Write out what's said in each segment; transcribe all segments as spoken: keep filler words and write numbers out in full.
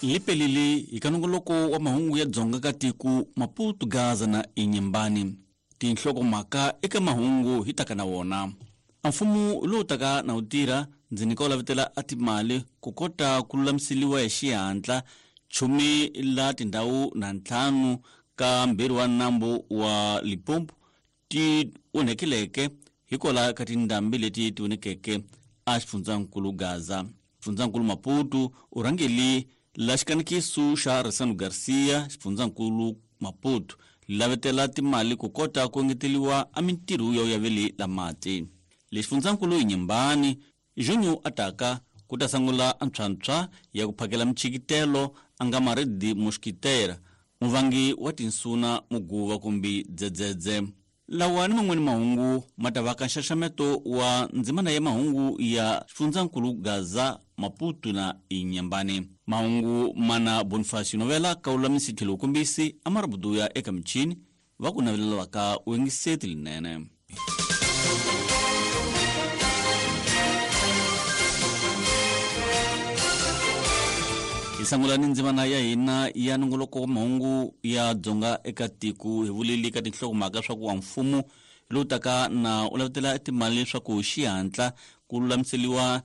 Lipelili ikanongoloko wa mahungu ya dzonga ka tiko Maputo, Gaza na Inhambane. Tinhlokomhaka eka mahungu hi taka na wona. Mfumo lowu taka na wu tirha ndzi nyika wu lavetela a timali ku kota ku lulamiseliwa hi xihatla chumi la tindhawu na ntlhanu ka mbirhi wa nambu wa Limpopo ti onhekeleke hikwalaho ka tindhambi leti ti vonekeke a xifundzankulu Gaza. Xifundzankulu Maputo u rhangeli la xikanikiso xa Ressano Garcia. Xifundzankulu Maputo lavetela timali ku kota ku engeteliwa a mintirho ya uyaveli la mati. Le xifundzankulu Inhambane Junho ataka ku ta sungula antshwantshwa ya ku phakela michikitelo a nga maridi mosquiteira muvangi wa tinsuna muguva kumbe dzedzedze. Lawa ni man'wani mahungu ma ta va ka nxaxameto wa ndzimana ya mahungu ya xifundzankulu Gaza, Maputo na Inhambane. Mahungu mana Bonifacio Novela kaululamisi tlhelo kombisi amarabudu ya eka michini va ku navelelaka u yingiseti linene. Hi sungula ni ndzimana ya hina ya nongoloko wa mahungu ya dzonga eka tiko hi vuleli ka tinhlokomhaka swa ku wa mfumo lowu taka na u lavetela timali leswaku xihatla ku lulamiseliwa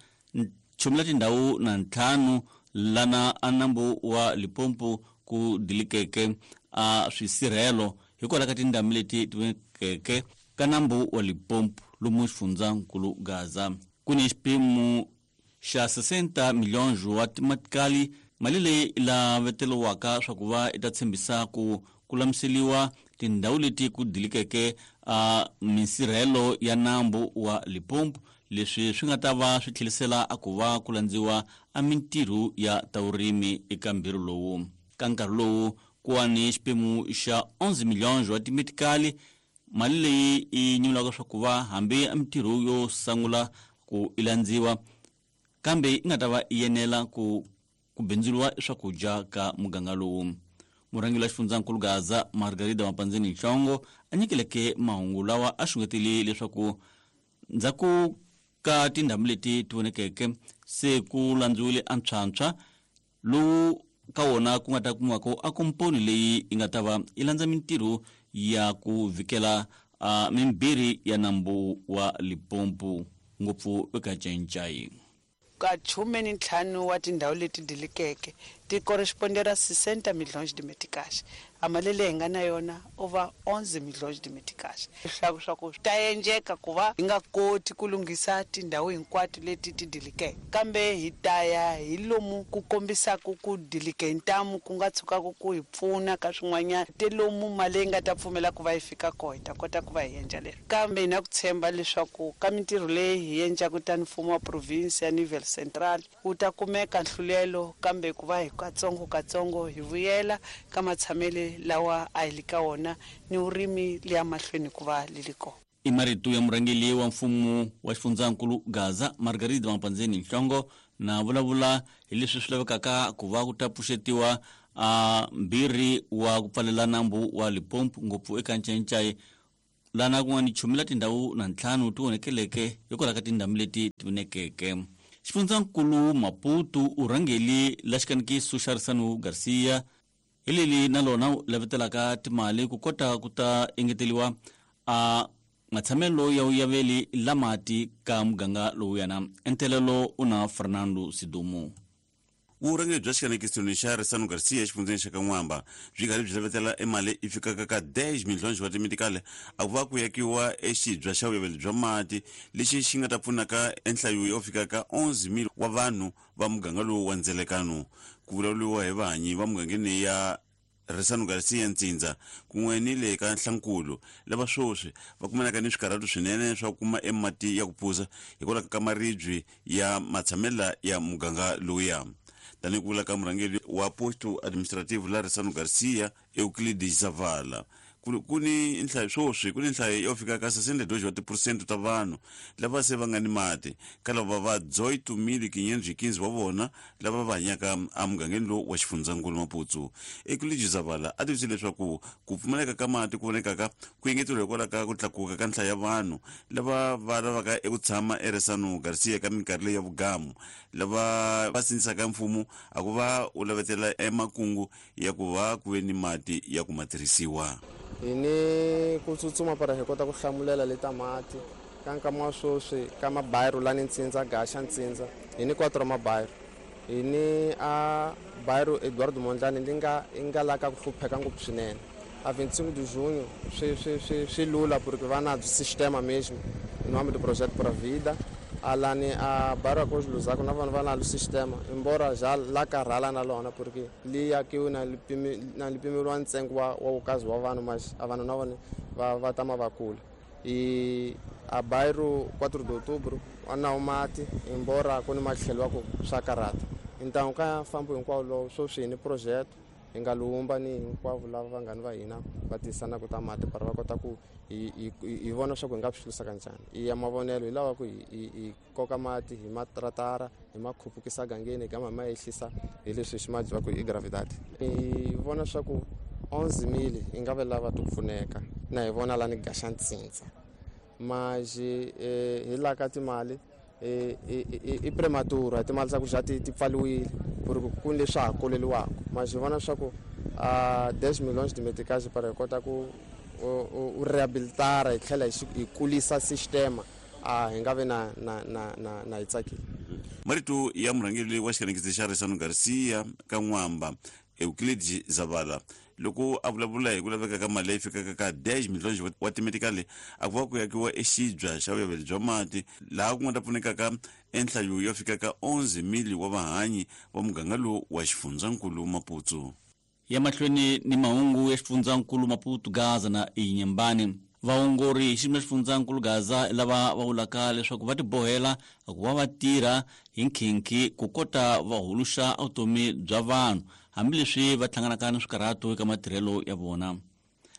chumi la tindhawu na ntlhanu lana a nambu wa Limpopo ku dilikeke a swisirhelo hikwalaho ka tindhambi leti ti vekeke ka nambu wa Limpopo lomu xifundzankulu Gaza. Ku ni xiphemu xa sessenta milhões wa timatikali mali leyi laveteliwaka swa ku va i ta tshembisa ku ku lulamiseliwa tindhawu leti ku dilikeke a minsirhelo ya nambu wa Limpopo, leswi swi nga ta va swi tlhelisela a ku va ku landziwa a mintirho ya ta vurimi eka mbirhi lowu. Ka nkarhi lowu ku wa ni xiphemu xa onze milhões wa timetikali mali leyi i nyulaka swa ku va hambi a mintirho yo sungula ku i landziwa kambe yi nga ta va yi enela ku ku bindzuriwa swakudya ka muganga lowu. Murhangeri wa xifundzankulu Gaza Margarida Mapandzeni Nhlongo a nyikeleke mahungu lawa a xungetile leswaku ndzhaku ka tindhambi leti ti vonekeke se ku landziwile antshwantshwa lowu ka wona ku nga ta kumiwaka a komponi leyi yi nga ta va yi landza mintirho ya ku vikela a mimbirhi ya nambu wa Limpopo ngopfu eka Ncaincayi. Ka khume ni ntlhanu wa tindhawu leti dilikeke ti correspondera sessenta milhões de meticais. A mali leyi hi nga na yona over onze milhões de meticais. Leswaku swa ku ta endleka ku va hi nga koti ku lunghisa tindhawu hinkwato leti ti dilikeke, kambe hi ta ya hi lomu ku kombisaka ku dilike hi ntamu ku nga tshukaka ku hi pfuna ka swin'wanyana te lomu mali leyi nga ta pfumela ku va yi fika kona hi ta kota ku va hi endla leswi. Kambe hi na ku tshemba leswaku ka mintirho leyi hi endlaka tani mfumo wa province ya Nivel Central wu ta kumeka nhlulelo, kambe ku va hi katsongo katsongo hi vuyela ka matshamele lawa a hi le ka wona ni vurimi liya mahlweni ku va li li kona. I marito ya murhangeri wa mfumo wa xifundzankulu Gaza Margarida Mapandzeni Nhlongo na vulavula hi leswi swi lavekaka ku va ku ta pfuxetiwa a mbirhi wa ku pfalela nambu wa Limpopo ngopfu eka Ncaincayi lana ku nga ni chumi la tindhawu na ntlhanu ti onekeleke hikwalaho ka tindhambi leti ti vonekeke. Xifundzankulu Maputo u rhangeli la xikanikiso xa Ressano Garcia hi leli na lona u lavetelaka timali ku kota ku ta engeteliwa a matshamelo ya uyaveli la mati ka muganga lowuyana. Entelelo u na Fernando Sidumo. Vurhangeri bya xikanikiso xa Ressano Garcia exifundzeni xa Kan'wamba byi karhi byi lavetela emali yi fikaka ka dez milhões wa timetikali a ku va ku yakiwa exibya xa vuyaveli bya mati lexi xi nga ta pfunaka enhlayo yo fika ka onze mil wa vanhu va muganga lowu wa ndzelekano. Ku vulavuriwa hi vahanyi va mugangeni ya Ressano Garcia Ntsindza kun'we ni le ka Nhlankulu lava sweswi va kumanaka ni swikarhato swinene swa ku kuma emati ya ku phuza hikwalaho ka maribye ya matshamela ya muganga lowuya. Tanihi ku vula ka murhangeri wa posto administrative la Ressano Garcia Euclides Zavala, Ku ni nhlayo sweswi ku ni nhlayo yo fika ka sessenta e dois wa tiphesente ta vanhu lava se va nga ni mati ka lava va dezoito mil quinhentos e quinze wa vona lava va hanyaka emugangeni lowu wa xifundzankulu Maputo. Euclides Zavala a tivise leswaku ku pfumaleka ka mati ku vonekaka ku engeteriwa hikwalaho ka ku tlakuka ka nhlayo ya vanhu lava va lavaka eku tshama eRessano Garcia ka minkarhi leyi ya vugamu lava va sindzisaka mfumo a ku va u lavetela emakungu ya ku va ku ve ni mati ya ku ma tirhisiwa. Hi ni ku tsutsuma para hi kota ku hlamulela leta mati ka nkama wa sweswi ka mabayiro lani Ntsindza Gaxa Ntsindza hi ni quatro mabayiro hi ni a bayiro Eduardo Mondlane li nga i nga la ka ku hlupheka ngopfu swinene a vinte e cinco de junho swi swi swi swi lula porque va na sistema mesmo em nome do projeto Pura Vida alani a bairro Arcos Luzako na vanhu va na sistema embora já la karhala na lona porque li yakiwe na na lipimeriwa ntsengo wa wa wukazi wa vanhu mas a vanhu na vona va va tama va kula e a bairro quatro de outubro a na mati embora ku ni matlhelo wa ku swa karhata então ka fambo hinkwawo lowu sweswi hi ni projeto hi nga lumba ni hinkwavo lava vanghani va hina va tisanaka ta mati para va kota ku hi hi hi vona swa ku hi nga swi hlurisa kanjhani i ya mavonelo hi lawa ku hi hi koka mati hi matratara hi ma khupukisa gangeni hi gama hi ma ehlisa hi leswi xi ma va ku i gravidade hi vona swa ku onze mil hi nga ve lava ti pfuneka na hi vona lani Gaxa Ntsindza mas hi la ka timali i prematura timali ta ku xa ti ti pfaliwile porque ku ni leswi ha koleliwaka mas hi vona swa ku a dez milhões de meticais para hi kota ku u rehabilitara hi tlhela hi kulisa sistema a hi nga vi na na na na na hi tsakile. Marito ya murhangeri wa xikanekisi xa Ressano Garcia ka N'wamba Euclides Zavala loko a vulavula hi ku laveka ka mali leyi fikaka ka dez milhões wa timetikali a ku va ku yakiwa exibya xa vuyaveri bya mati laha ku nga ta pfunekaka enhlayo yo fika ka onze mil wa vahanyi va muganga lowu wa xifundzankulu Maputo. Ya mahlweni ni mahungu ya xifundzankulu Maputo Gaza na Inhambane. Vaongori hi xiyimo xa xifundzankulu Gaza lava va vulaka leswaku va tibohela ku va va tirha hi nkhinkhi ku kota va huluxa vutomi bya vanhu hambileswi va hlanganaka ni swikarhato eka matirhelo ya vona.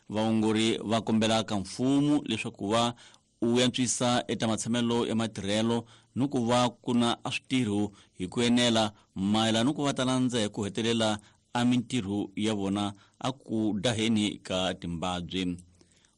Vaongori va kombela ka mfumo leswaku va u antswisa eka matshamelo ya matirhelo ni ku va ku na a switirho hi ku enela mayelana ni ku va ta landza hi ku hetelela a mintirho ya vona a ku daheni ka timbabyi.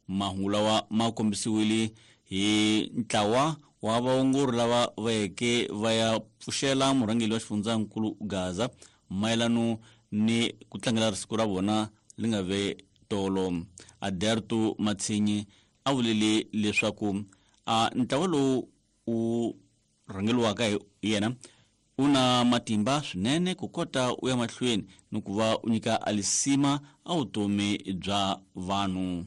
Mahungu lawa ma kombisiwile hi ntlawa wa vaongori lava va yeke va ya pfuxela murhangeri wa xifundzankulu Gaza mayelano ni ku tlangela siku ra vona li nga ve tolo. Aderto Matsinyi a vulile leswaku a ntlawa lowu u rhangeriwaka hi yena u na matimba swinene ku kota u ya mahlweni ni ku va u nyika alisima a vutomi bya vanhu.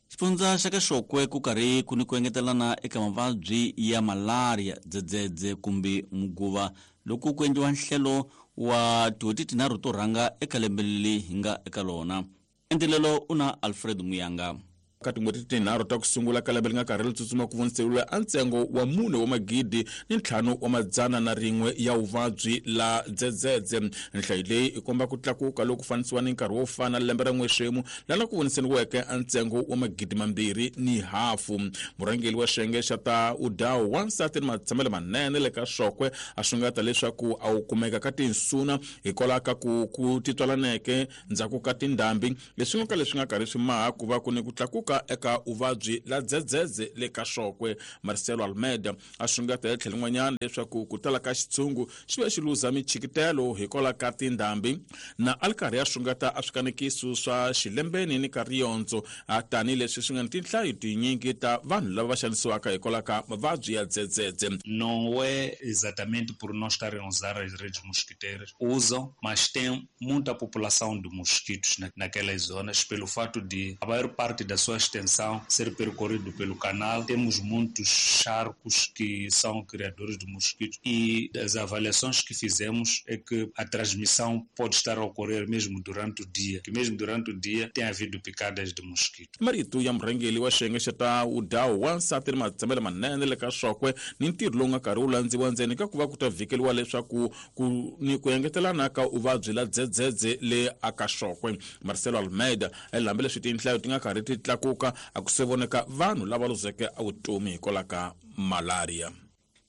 Xifundza xa ka Xokwe ku karhi ku ni ku engetelana eka mavabyi ya malaria, dzedzedze kumbe muguva loko ku endliwa nhlelo wa tin'hweti tinharhu to rhanga eka lembe leri hi nga eka lona. Endelelo u na Alfred Muyanga. Ka tin'hweti tinharhu ta ku sungula ka lembe leri nga karhi ri tsutsuma ku voniseriwa a ntsengo wa mune wa magidi ni ntlhanu wa madzana na rin'we ya vuvabyi la dzedzedze. Nhlayo leyi i komba ku tlakuka loku fanisiwa ni nkarhi wo fana lembe ra n'wexemu lana ku voniseriweke a ntsengo wa magidi mambirhi ni hafu. Murhangeri wa xiyenge xa ta udawu wansati ni matshamelo manene le ka Xokwe a xungeta leswaku a wu kumeka ka tinsuna hikwalaho ka ku ku titwalaneke ndzhaku ka tindhambi leswi nga ka leswi nga karhi swi maha ku va ku ni ku tlakuka eka uvabyi la dzedzedze le ka Xokwe. Marcelo Almeida a xungeta hi tlhelo rin'wanyana leswaku ku tala ka xitshungu xi ve xi luza michikitelo hikwalaho ka tindhambi na a ri karhi a xungeta a swikanekiso swa xilembeni ni ka riyondzo tanihileswi swi nga ni tinhlayo tinyingi ta vanhu lava va xanisiwaka hikwalaho ka mavabyi ya dzedzedze. Não é exatamente por não estarem a usar as redes mosquiteiras, usam, mas tem muita população de mosquitos naquelas zonas pelo fato de a maior parte das suas extensão, ser percorrido pelo canal. Temos muitos charcos que são criadores de mosquitos e as avaliações que fizemos é que a transmissão pode estar a ocorrer mesmo durante o dia, que mesmo durante o dia tem havido picadas de mosquito. Marito ya murhangeri wa xiyenge xa ta udawu wansati ni matshambelo manene le ka Xokwe ni ntirho lowu nga karhi wu landziwa ndzeni ka ku va ku ta vhikeliwa leswaku ku ni ku engetelana ka uvabyi la dzedzedze le aka Xokwe. Marcelo Almeida hambileswi tinhlayo ti nga karhi ti tlakuka a ku se voneka vanhu lava luzeke evutomi hikwalaho ka malaria.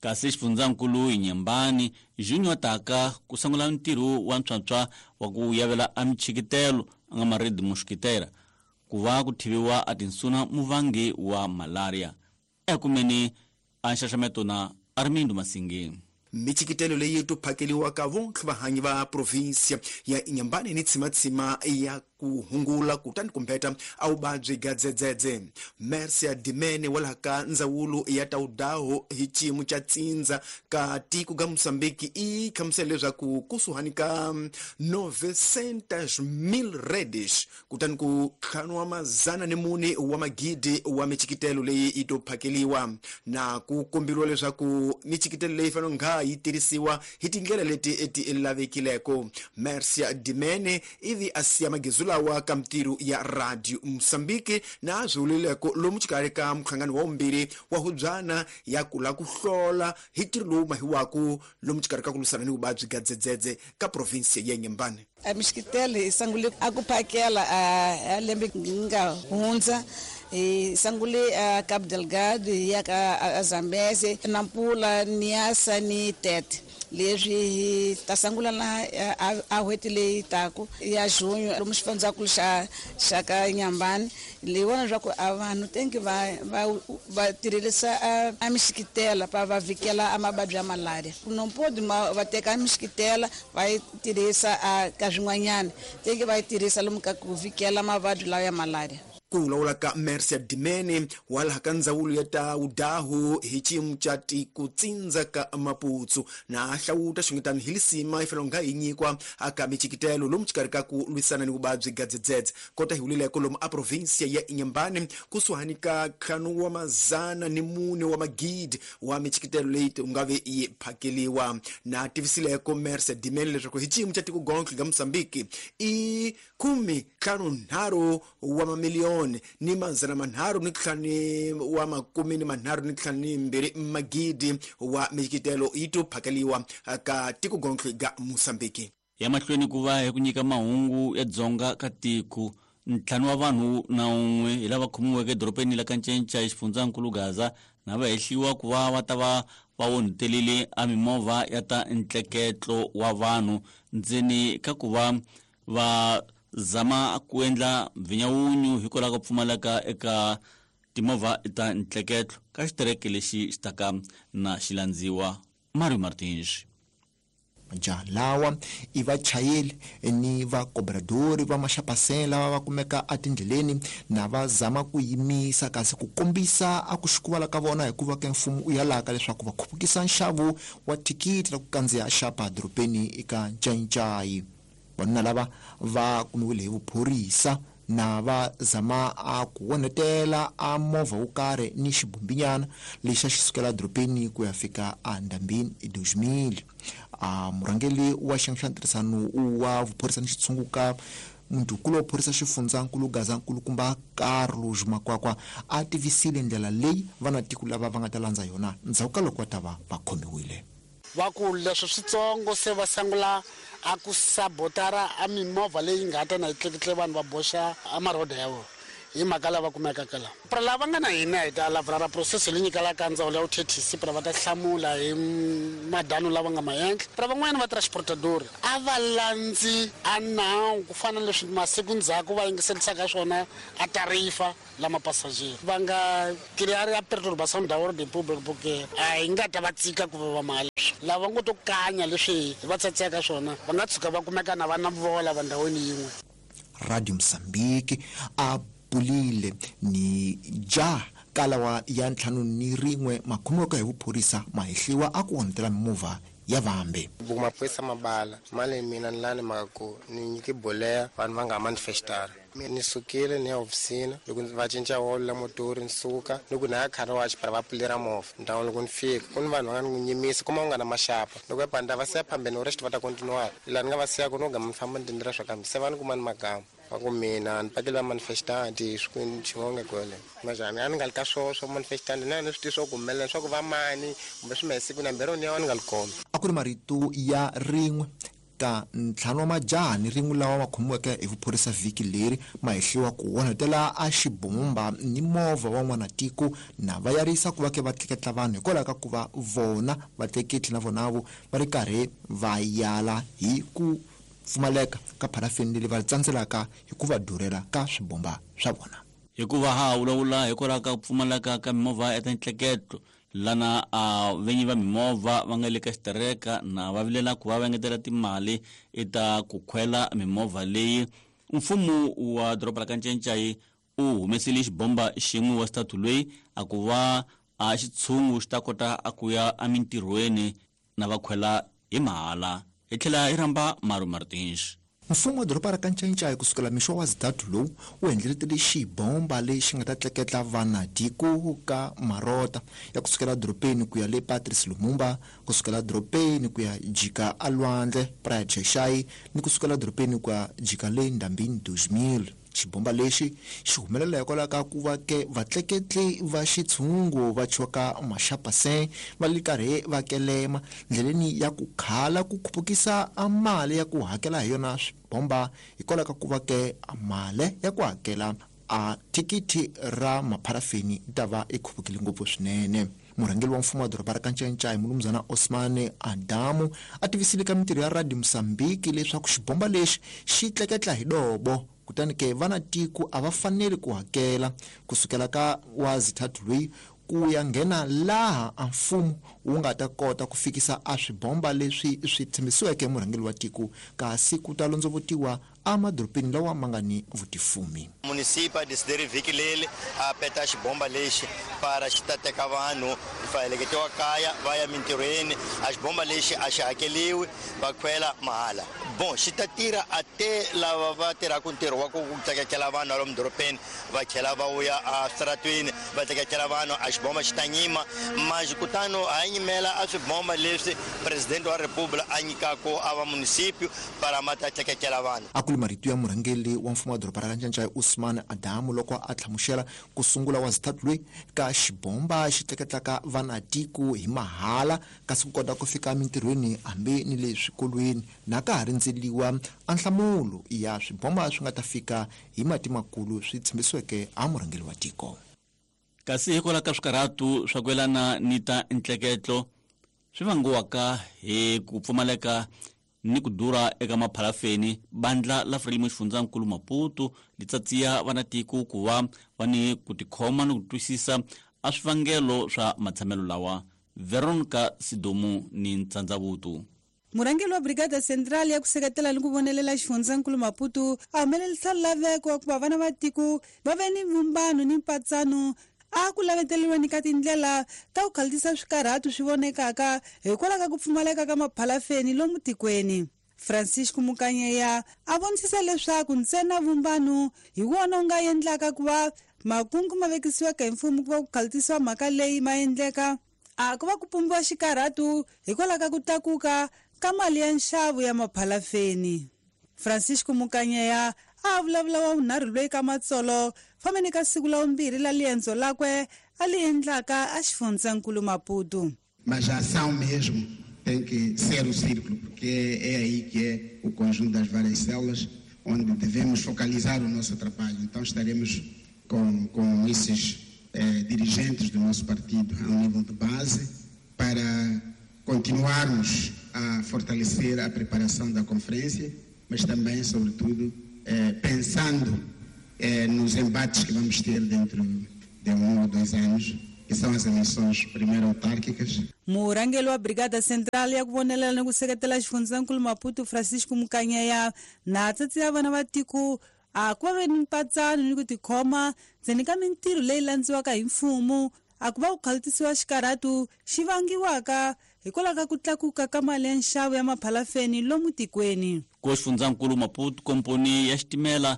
Kasi xifundzankulu Inhambane Junior taka ku sungula ntirho wa ntswantswa wa ku yavela a michikitelo a nga maredi mosquitera ku va ku thiviwa a tinsuna muvangi wa malaria. Ekumeni a nxaxameto na Armindo Masingeni. Michikitelo leyi to phakeliwaka vontlhe vahanyi va provinsia ya Inhambane ni tsimatsima ya ku hungula kutani kumbeta a vuvabyi ga dzedzedze. Mercia Dimene wa laha ka ndzawulo ya Taudaho hi xiyimo xa tsindza ka tiko ga Mozambique i hlamusela leswaku kusuhani ka novecentos mil redes kutani ku ntlhanu wa mazana ni mune wa magidi wa michikitelo leyi yi to phakeliwa na ku komberiwa leswaku michikitelo leyi fanele nga yi tirhisiwa hi tindlela leti ti lavekileko. Mercia Dimene ivi a siya magezu lawa ka mintirho ya Radio Mozambique na swi lomu xikarhi ka mhlangano wa vumbirhi wa hubyana ya ku la ku hlola hi ntirho lowu mahiwaku lomu xikarhi ka ku lwisana ni vuvabyi ga dzedzedze ka province ya Inhambane. A mixikitelo hi sungule a ku phakela a lembe nga hundza hi sungule a Cabo Delgado hi ya ka Zambeze, Nampula, Niassa ni Tete. Leswi hi ta sungula na a n'hweti leyi taku ya junho lomu xifundzankulu xa xa ka Inhambane leyi vona leswaku a vanhu tenki va va va tirhisa a mixikitela pa va vhikela a mavabyi ya malaria. No pode va teka a mixikitela va yi tirhisa a ka swin'wanyana tenki va yi tirhisa lomu ka ku vhikela mavabyi lawa ya malaria. Ku vulavula ka Mercia Dimene wa laha ka ndzawulo ya ta udahu hi xiyimo xa tiko tsindza ka Maputo na hlawuta xingetani hi lisima yi fanele nga yi nyikwa aka michikitelo lomu xikarhi ka ku lwisana ni vuvabyi ga dzedzedze kota hi vulileko lomu a provinsia ya Inhambane kusuhani ka ntlhanu wa mazana ni mune wa magidi wa michikitelo leyi u nga ve yi phakeliwa. Na tivisileko Mercia Dimene leswaku hi xiyimo xa tiko gontlhe ga Mozambique i khume ntlhanu nharhu wa mamiliyoni ni manzana manharhu ni ntlhanu wa makume ni manharhu ni ntlhanu ni mbirhi magidi wa michikitelo yi to phakeliwa ka tiko gontlhe ga Mozambique. Ya mahlweni ku va hi ku nyika mahungu ya dzonga ka tiko ntlhanu wa vanhu na un'we hi lava khomiweke edorobeni la ka Ncenca hi xifundzankulu Gaza na va hehliwa ku va va ta va va onhetelile a mimovha ya ta ntleketlo wa vanhu ndzeni ka ku va va zama ku endla mvinyawunyu hikwalaho ka pfumaleka eka timovha ta ntleketlo ka xitereke lexi xi taka na xilandziwa. Mario Martins. Majaha lawa i vachayeri ni vakobradori va maxapasela lava va kumeka etindleleni na va zama ku yimisa kasi ku kombisa a ku xikuvala ka vona hikuva ke mfumo u yalaka leswaku va khupukisa nxavo wa thikithi ra ku kandziya xapa dorobeni eka Ncaincayi. Vanuna lava va kumiwile hi vuphorisa na va zama a ku onhetela a movha wo karhi ni xibumbinyana lexi a xi sukela dorobeni ku ya fika endhambini hi dois mil. A murhangeri wa xiyenge xa ntirhisano wa vuphorisa ni xitshunguka mundhukulu wa phorisa xifundzankulu Gaza nkulukumba Carlos Makwakwa a tivisile ndlela leyi vanatiko lava va nga ta landza yona ndzhaku ka loko va ta va va khomiwile. Va ku leswi switsongo se va sungula a ku sabotara a mimovha leyi nga ta na yi tleketle vanhu va boxa a maroda ya vona hi mhaka lava kumekaka la. Pra lava nga na hina hi ta lavra process leyi nyikelaka ndzawulo ya vuthethisi pra va ta hlamula hi madano lava nga ma endla. Pra van'wanyana va transportador a va landzi a nawu ku fana na leswi masiku ndzhaku va yingiselisaka swona a tarifa lama passager va nga criar a perturbação da ordem pública porque a hi nga ta va tsika ku va mali lava ngo to kanya leswi va tsatseka swona va nga tshuka va kumeka na va na vola va ndhawini yin'we. Radio Mozambique a bulile ni ja kalawa ya ntlhanu ni rin'we makhomiweke hi vuphorisa mahehliwa a ku onhetela mimovha ya vambe. Mapurisa mabala mali mina ni lani mhaka ku ni nyike boleya vanhu va nga manifestara Ni sukile ni ya ofisini loko va cinca wolo la motori ni suka loko na ya car wash para va pfulera movha ndhawu loko ni fika ku ni vanhu va nga ni nyimisa kuma u nga na maxapa loko ya banda va siya phambeni rest va ta continue la ni nga va siya ku no gama ni famba ni tindlela swa kambe se va ni kuma ni magama va ku mina ni pakela manifestanti swikwini xin'wana kwele majani a ni nga li ka swo swo manifestanti na ni swi tiva swo ku humelela swa ku va mani kumbe swi masiku na mbirhi ni ya ni nga li kona. A ku ri marito ya rin'we ka ntlhanu wa majaha ni rin'we lawa ma khomiweke hi vuphorisa vhiki leri ma hehliwa ku onhetela a xibomba ni movha wa n'wanatiko na va yarisa ku va ke va tleketla vanhu hikwalaho ka ku va vona vatleketli na vonavo va ri karhi va yala hi ku pfumaleka ka pharafini leyi va tsandzelaka hi ku va durhela ka swibomba swa vona. Hikuva ha vulavula hikwalaho ka ku pfumaleka ka mimovha ya tintleketlo lana a venyi va mimovha va nga le ka xitereka na va vilela ku va va engetela timali eta ku khwela mimovha leyi. Mfumo wa doroba ra Kanchenchayi u humesile xibomba xin'we wa xitatu loyi a ku va a xitshungu xi ta kota a ku ya emintirhweni na va khwela hi mahala. Hi tlhela hi rhamba Maru Martins. Mfumo wa doroba ra Kanchenchayi kusukela mixo wa zitatu lowu wu endleletele xibomba lexi nga ta tleketla vanatiko ka marota ya kusukela dorobeni ku ya le Patrice Lumumba, kusukela dorobeni ku ya jika alwandle Praia Cheshai ni kusukela dorobeni ku ya jika le Ndambini dos mil. Xibomba lexi xi humelela hikwalaho ka ku va ke vatleketli va xitshungu va choka maxapasen va li karhi va kelema ndleleni ya ku khala ku khupukisa a mali ya ku hakela hi yona swibomba hikwalaho ka ku va ke mali ya ku hakela a thikithi ra mapharafini yi ta va yi khupukile ngopfu swinene. Murhangeri wa mfumo wa doroba ra Kanchenchayi mulumuzana Osmane Adamu a tivisile ka mintirho ya Radio Mozambique leswaku xibomba lexi xi tleketla hi dobo kutani ke vana tiko a va faneli ku hakela kusukela ka wa zithathu loyi ku ya nghena laha a mfumo wu nga ta kota ku fikisa a swibomba leswi swi tshembisiweke murhangeri wa tiko kasi ku ta londzovotiwa emadorobeni lawa ma nga ni vutifumi. Munisipa desideri vhiki leri a peta xibomba lexi para xi ta teka vanhu va heleketiwa kaya va ya mintirhweni. A xibomba lexi a xi hakeliwi va khwela mahala. Bon xi ta tirha a te lava va tirhaka ntirho wa ku tleketlela vanhu lomu dorobeni va tlhela va vuya eswitaratweni va tleketlela vanhu. A xibomba xi ta nyima manjhe kutani a nyimela a swibomba leswi presidente wa republika a nyikaka a va munisipio para ma ta tleketlela vanhu. A ku ri marito ya murhangeri wa mfumo wa doroba ra Kanchenchayi Usman Adamu loko a hlamusela ku sungula wa zithathu loyi ka xibomba xi tleketlaka vanatiko hi mahala kasi ku kota ku fika emintirhweni hambi ni le swikolweni na ka ha rindzeliwa a nhlamulo ya swibomba swi nga ta fika hi mati makulu swi tshembisiweke a murhangeri wa tiko. Kasi hikwalaho ka swikarhatu swa ku yelana ni ta ntleketlo swi vangiwaka hi ku pfumaleka ni ku durha eka mapharafeni, bandla la Frelimo xifundzankulu Maputo li tsatsiya vanatiko ku va va ni ku tikhoma ni ku twisisa a swivangelo swa matshamelo lawa. Veronica Sidomu ni Ntsandzavutu. Murhangeri wa Brigada Central ya ku seketela ni ku vonelela xifundzankulu Maputo a humelerisa laveko wa ku va vana va tiko va ve ni vumbano ni mpatsano a ku laveteriweni ka tindlela ta ku khalisa swikarhatu swi vonekaka hikwalaho ka ku pfumaleka ka maphalafeni lomu tikweni. Francisco Mukanyeya a vonisisa leswaku ntsena vumbano hi wona wu nga endlaka ku va makungu ma vekisiwaka hi mfumo ku va ku khalisiwa mhaka leyi ma endleka a ku va ku pumbiwa xikarhatu hikwalaho ka ku tlakuka ka mali ya nxavo ya maphalafeni. Francisco Mukanyeya a vulavula wa vunharhu loyi ka matsolo fambeni ka siku la vumbirhi la liendzo lakwe a li endlaka a xifundzankulu Maputo. Mas a ação mesmo tem que ser o círculo, porque é aí que é o conjunto das várias células onde devemos focalizar o nosso trabalho. Então estaremos com, com esses eh, dirigentes do nosso partido ao nível de base para continuarmos a fortalecer a preparação da conferência, mas também, sobretudo, eh, pensando eh, nos embates que vamos ter dentro de um ou dois anos, que são as eleições primeiro autárquicas. Murhangeri wa Brigada Central ya ku vonelela ni ku seketela xifundzankulu Maputo Francisco Mukanyeya na tsatsiya vana va tiko a ku va ve ni mpatsano ni ku tikhoma ndzeni ka mintirho leyi landziwaka hi mfumo a ku va ku khalutisiwa xikarhatu xi vangiwaka hikwalaho ka ku tlakuka ka mali ya nxavo ya maphalafeni lomu tikweni. Ku xifundzankulu Maputo komponi ya xitimela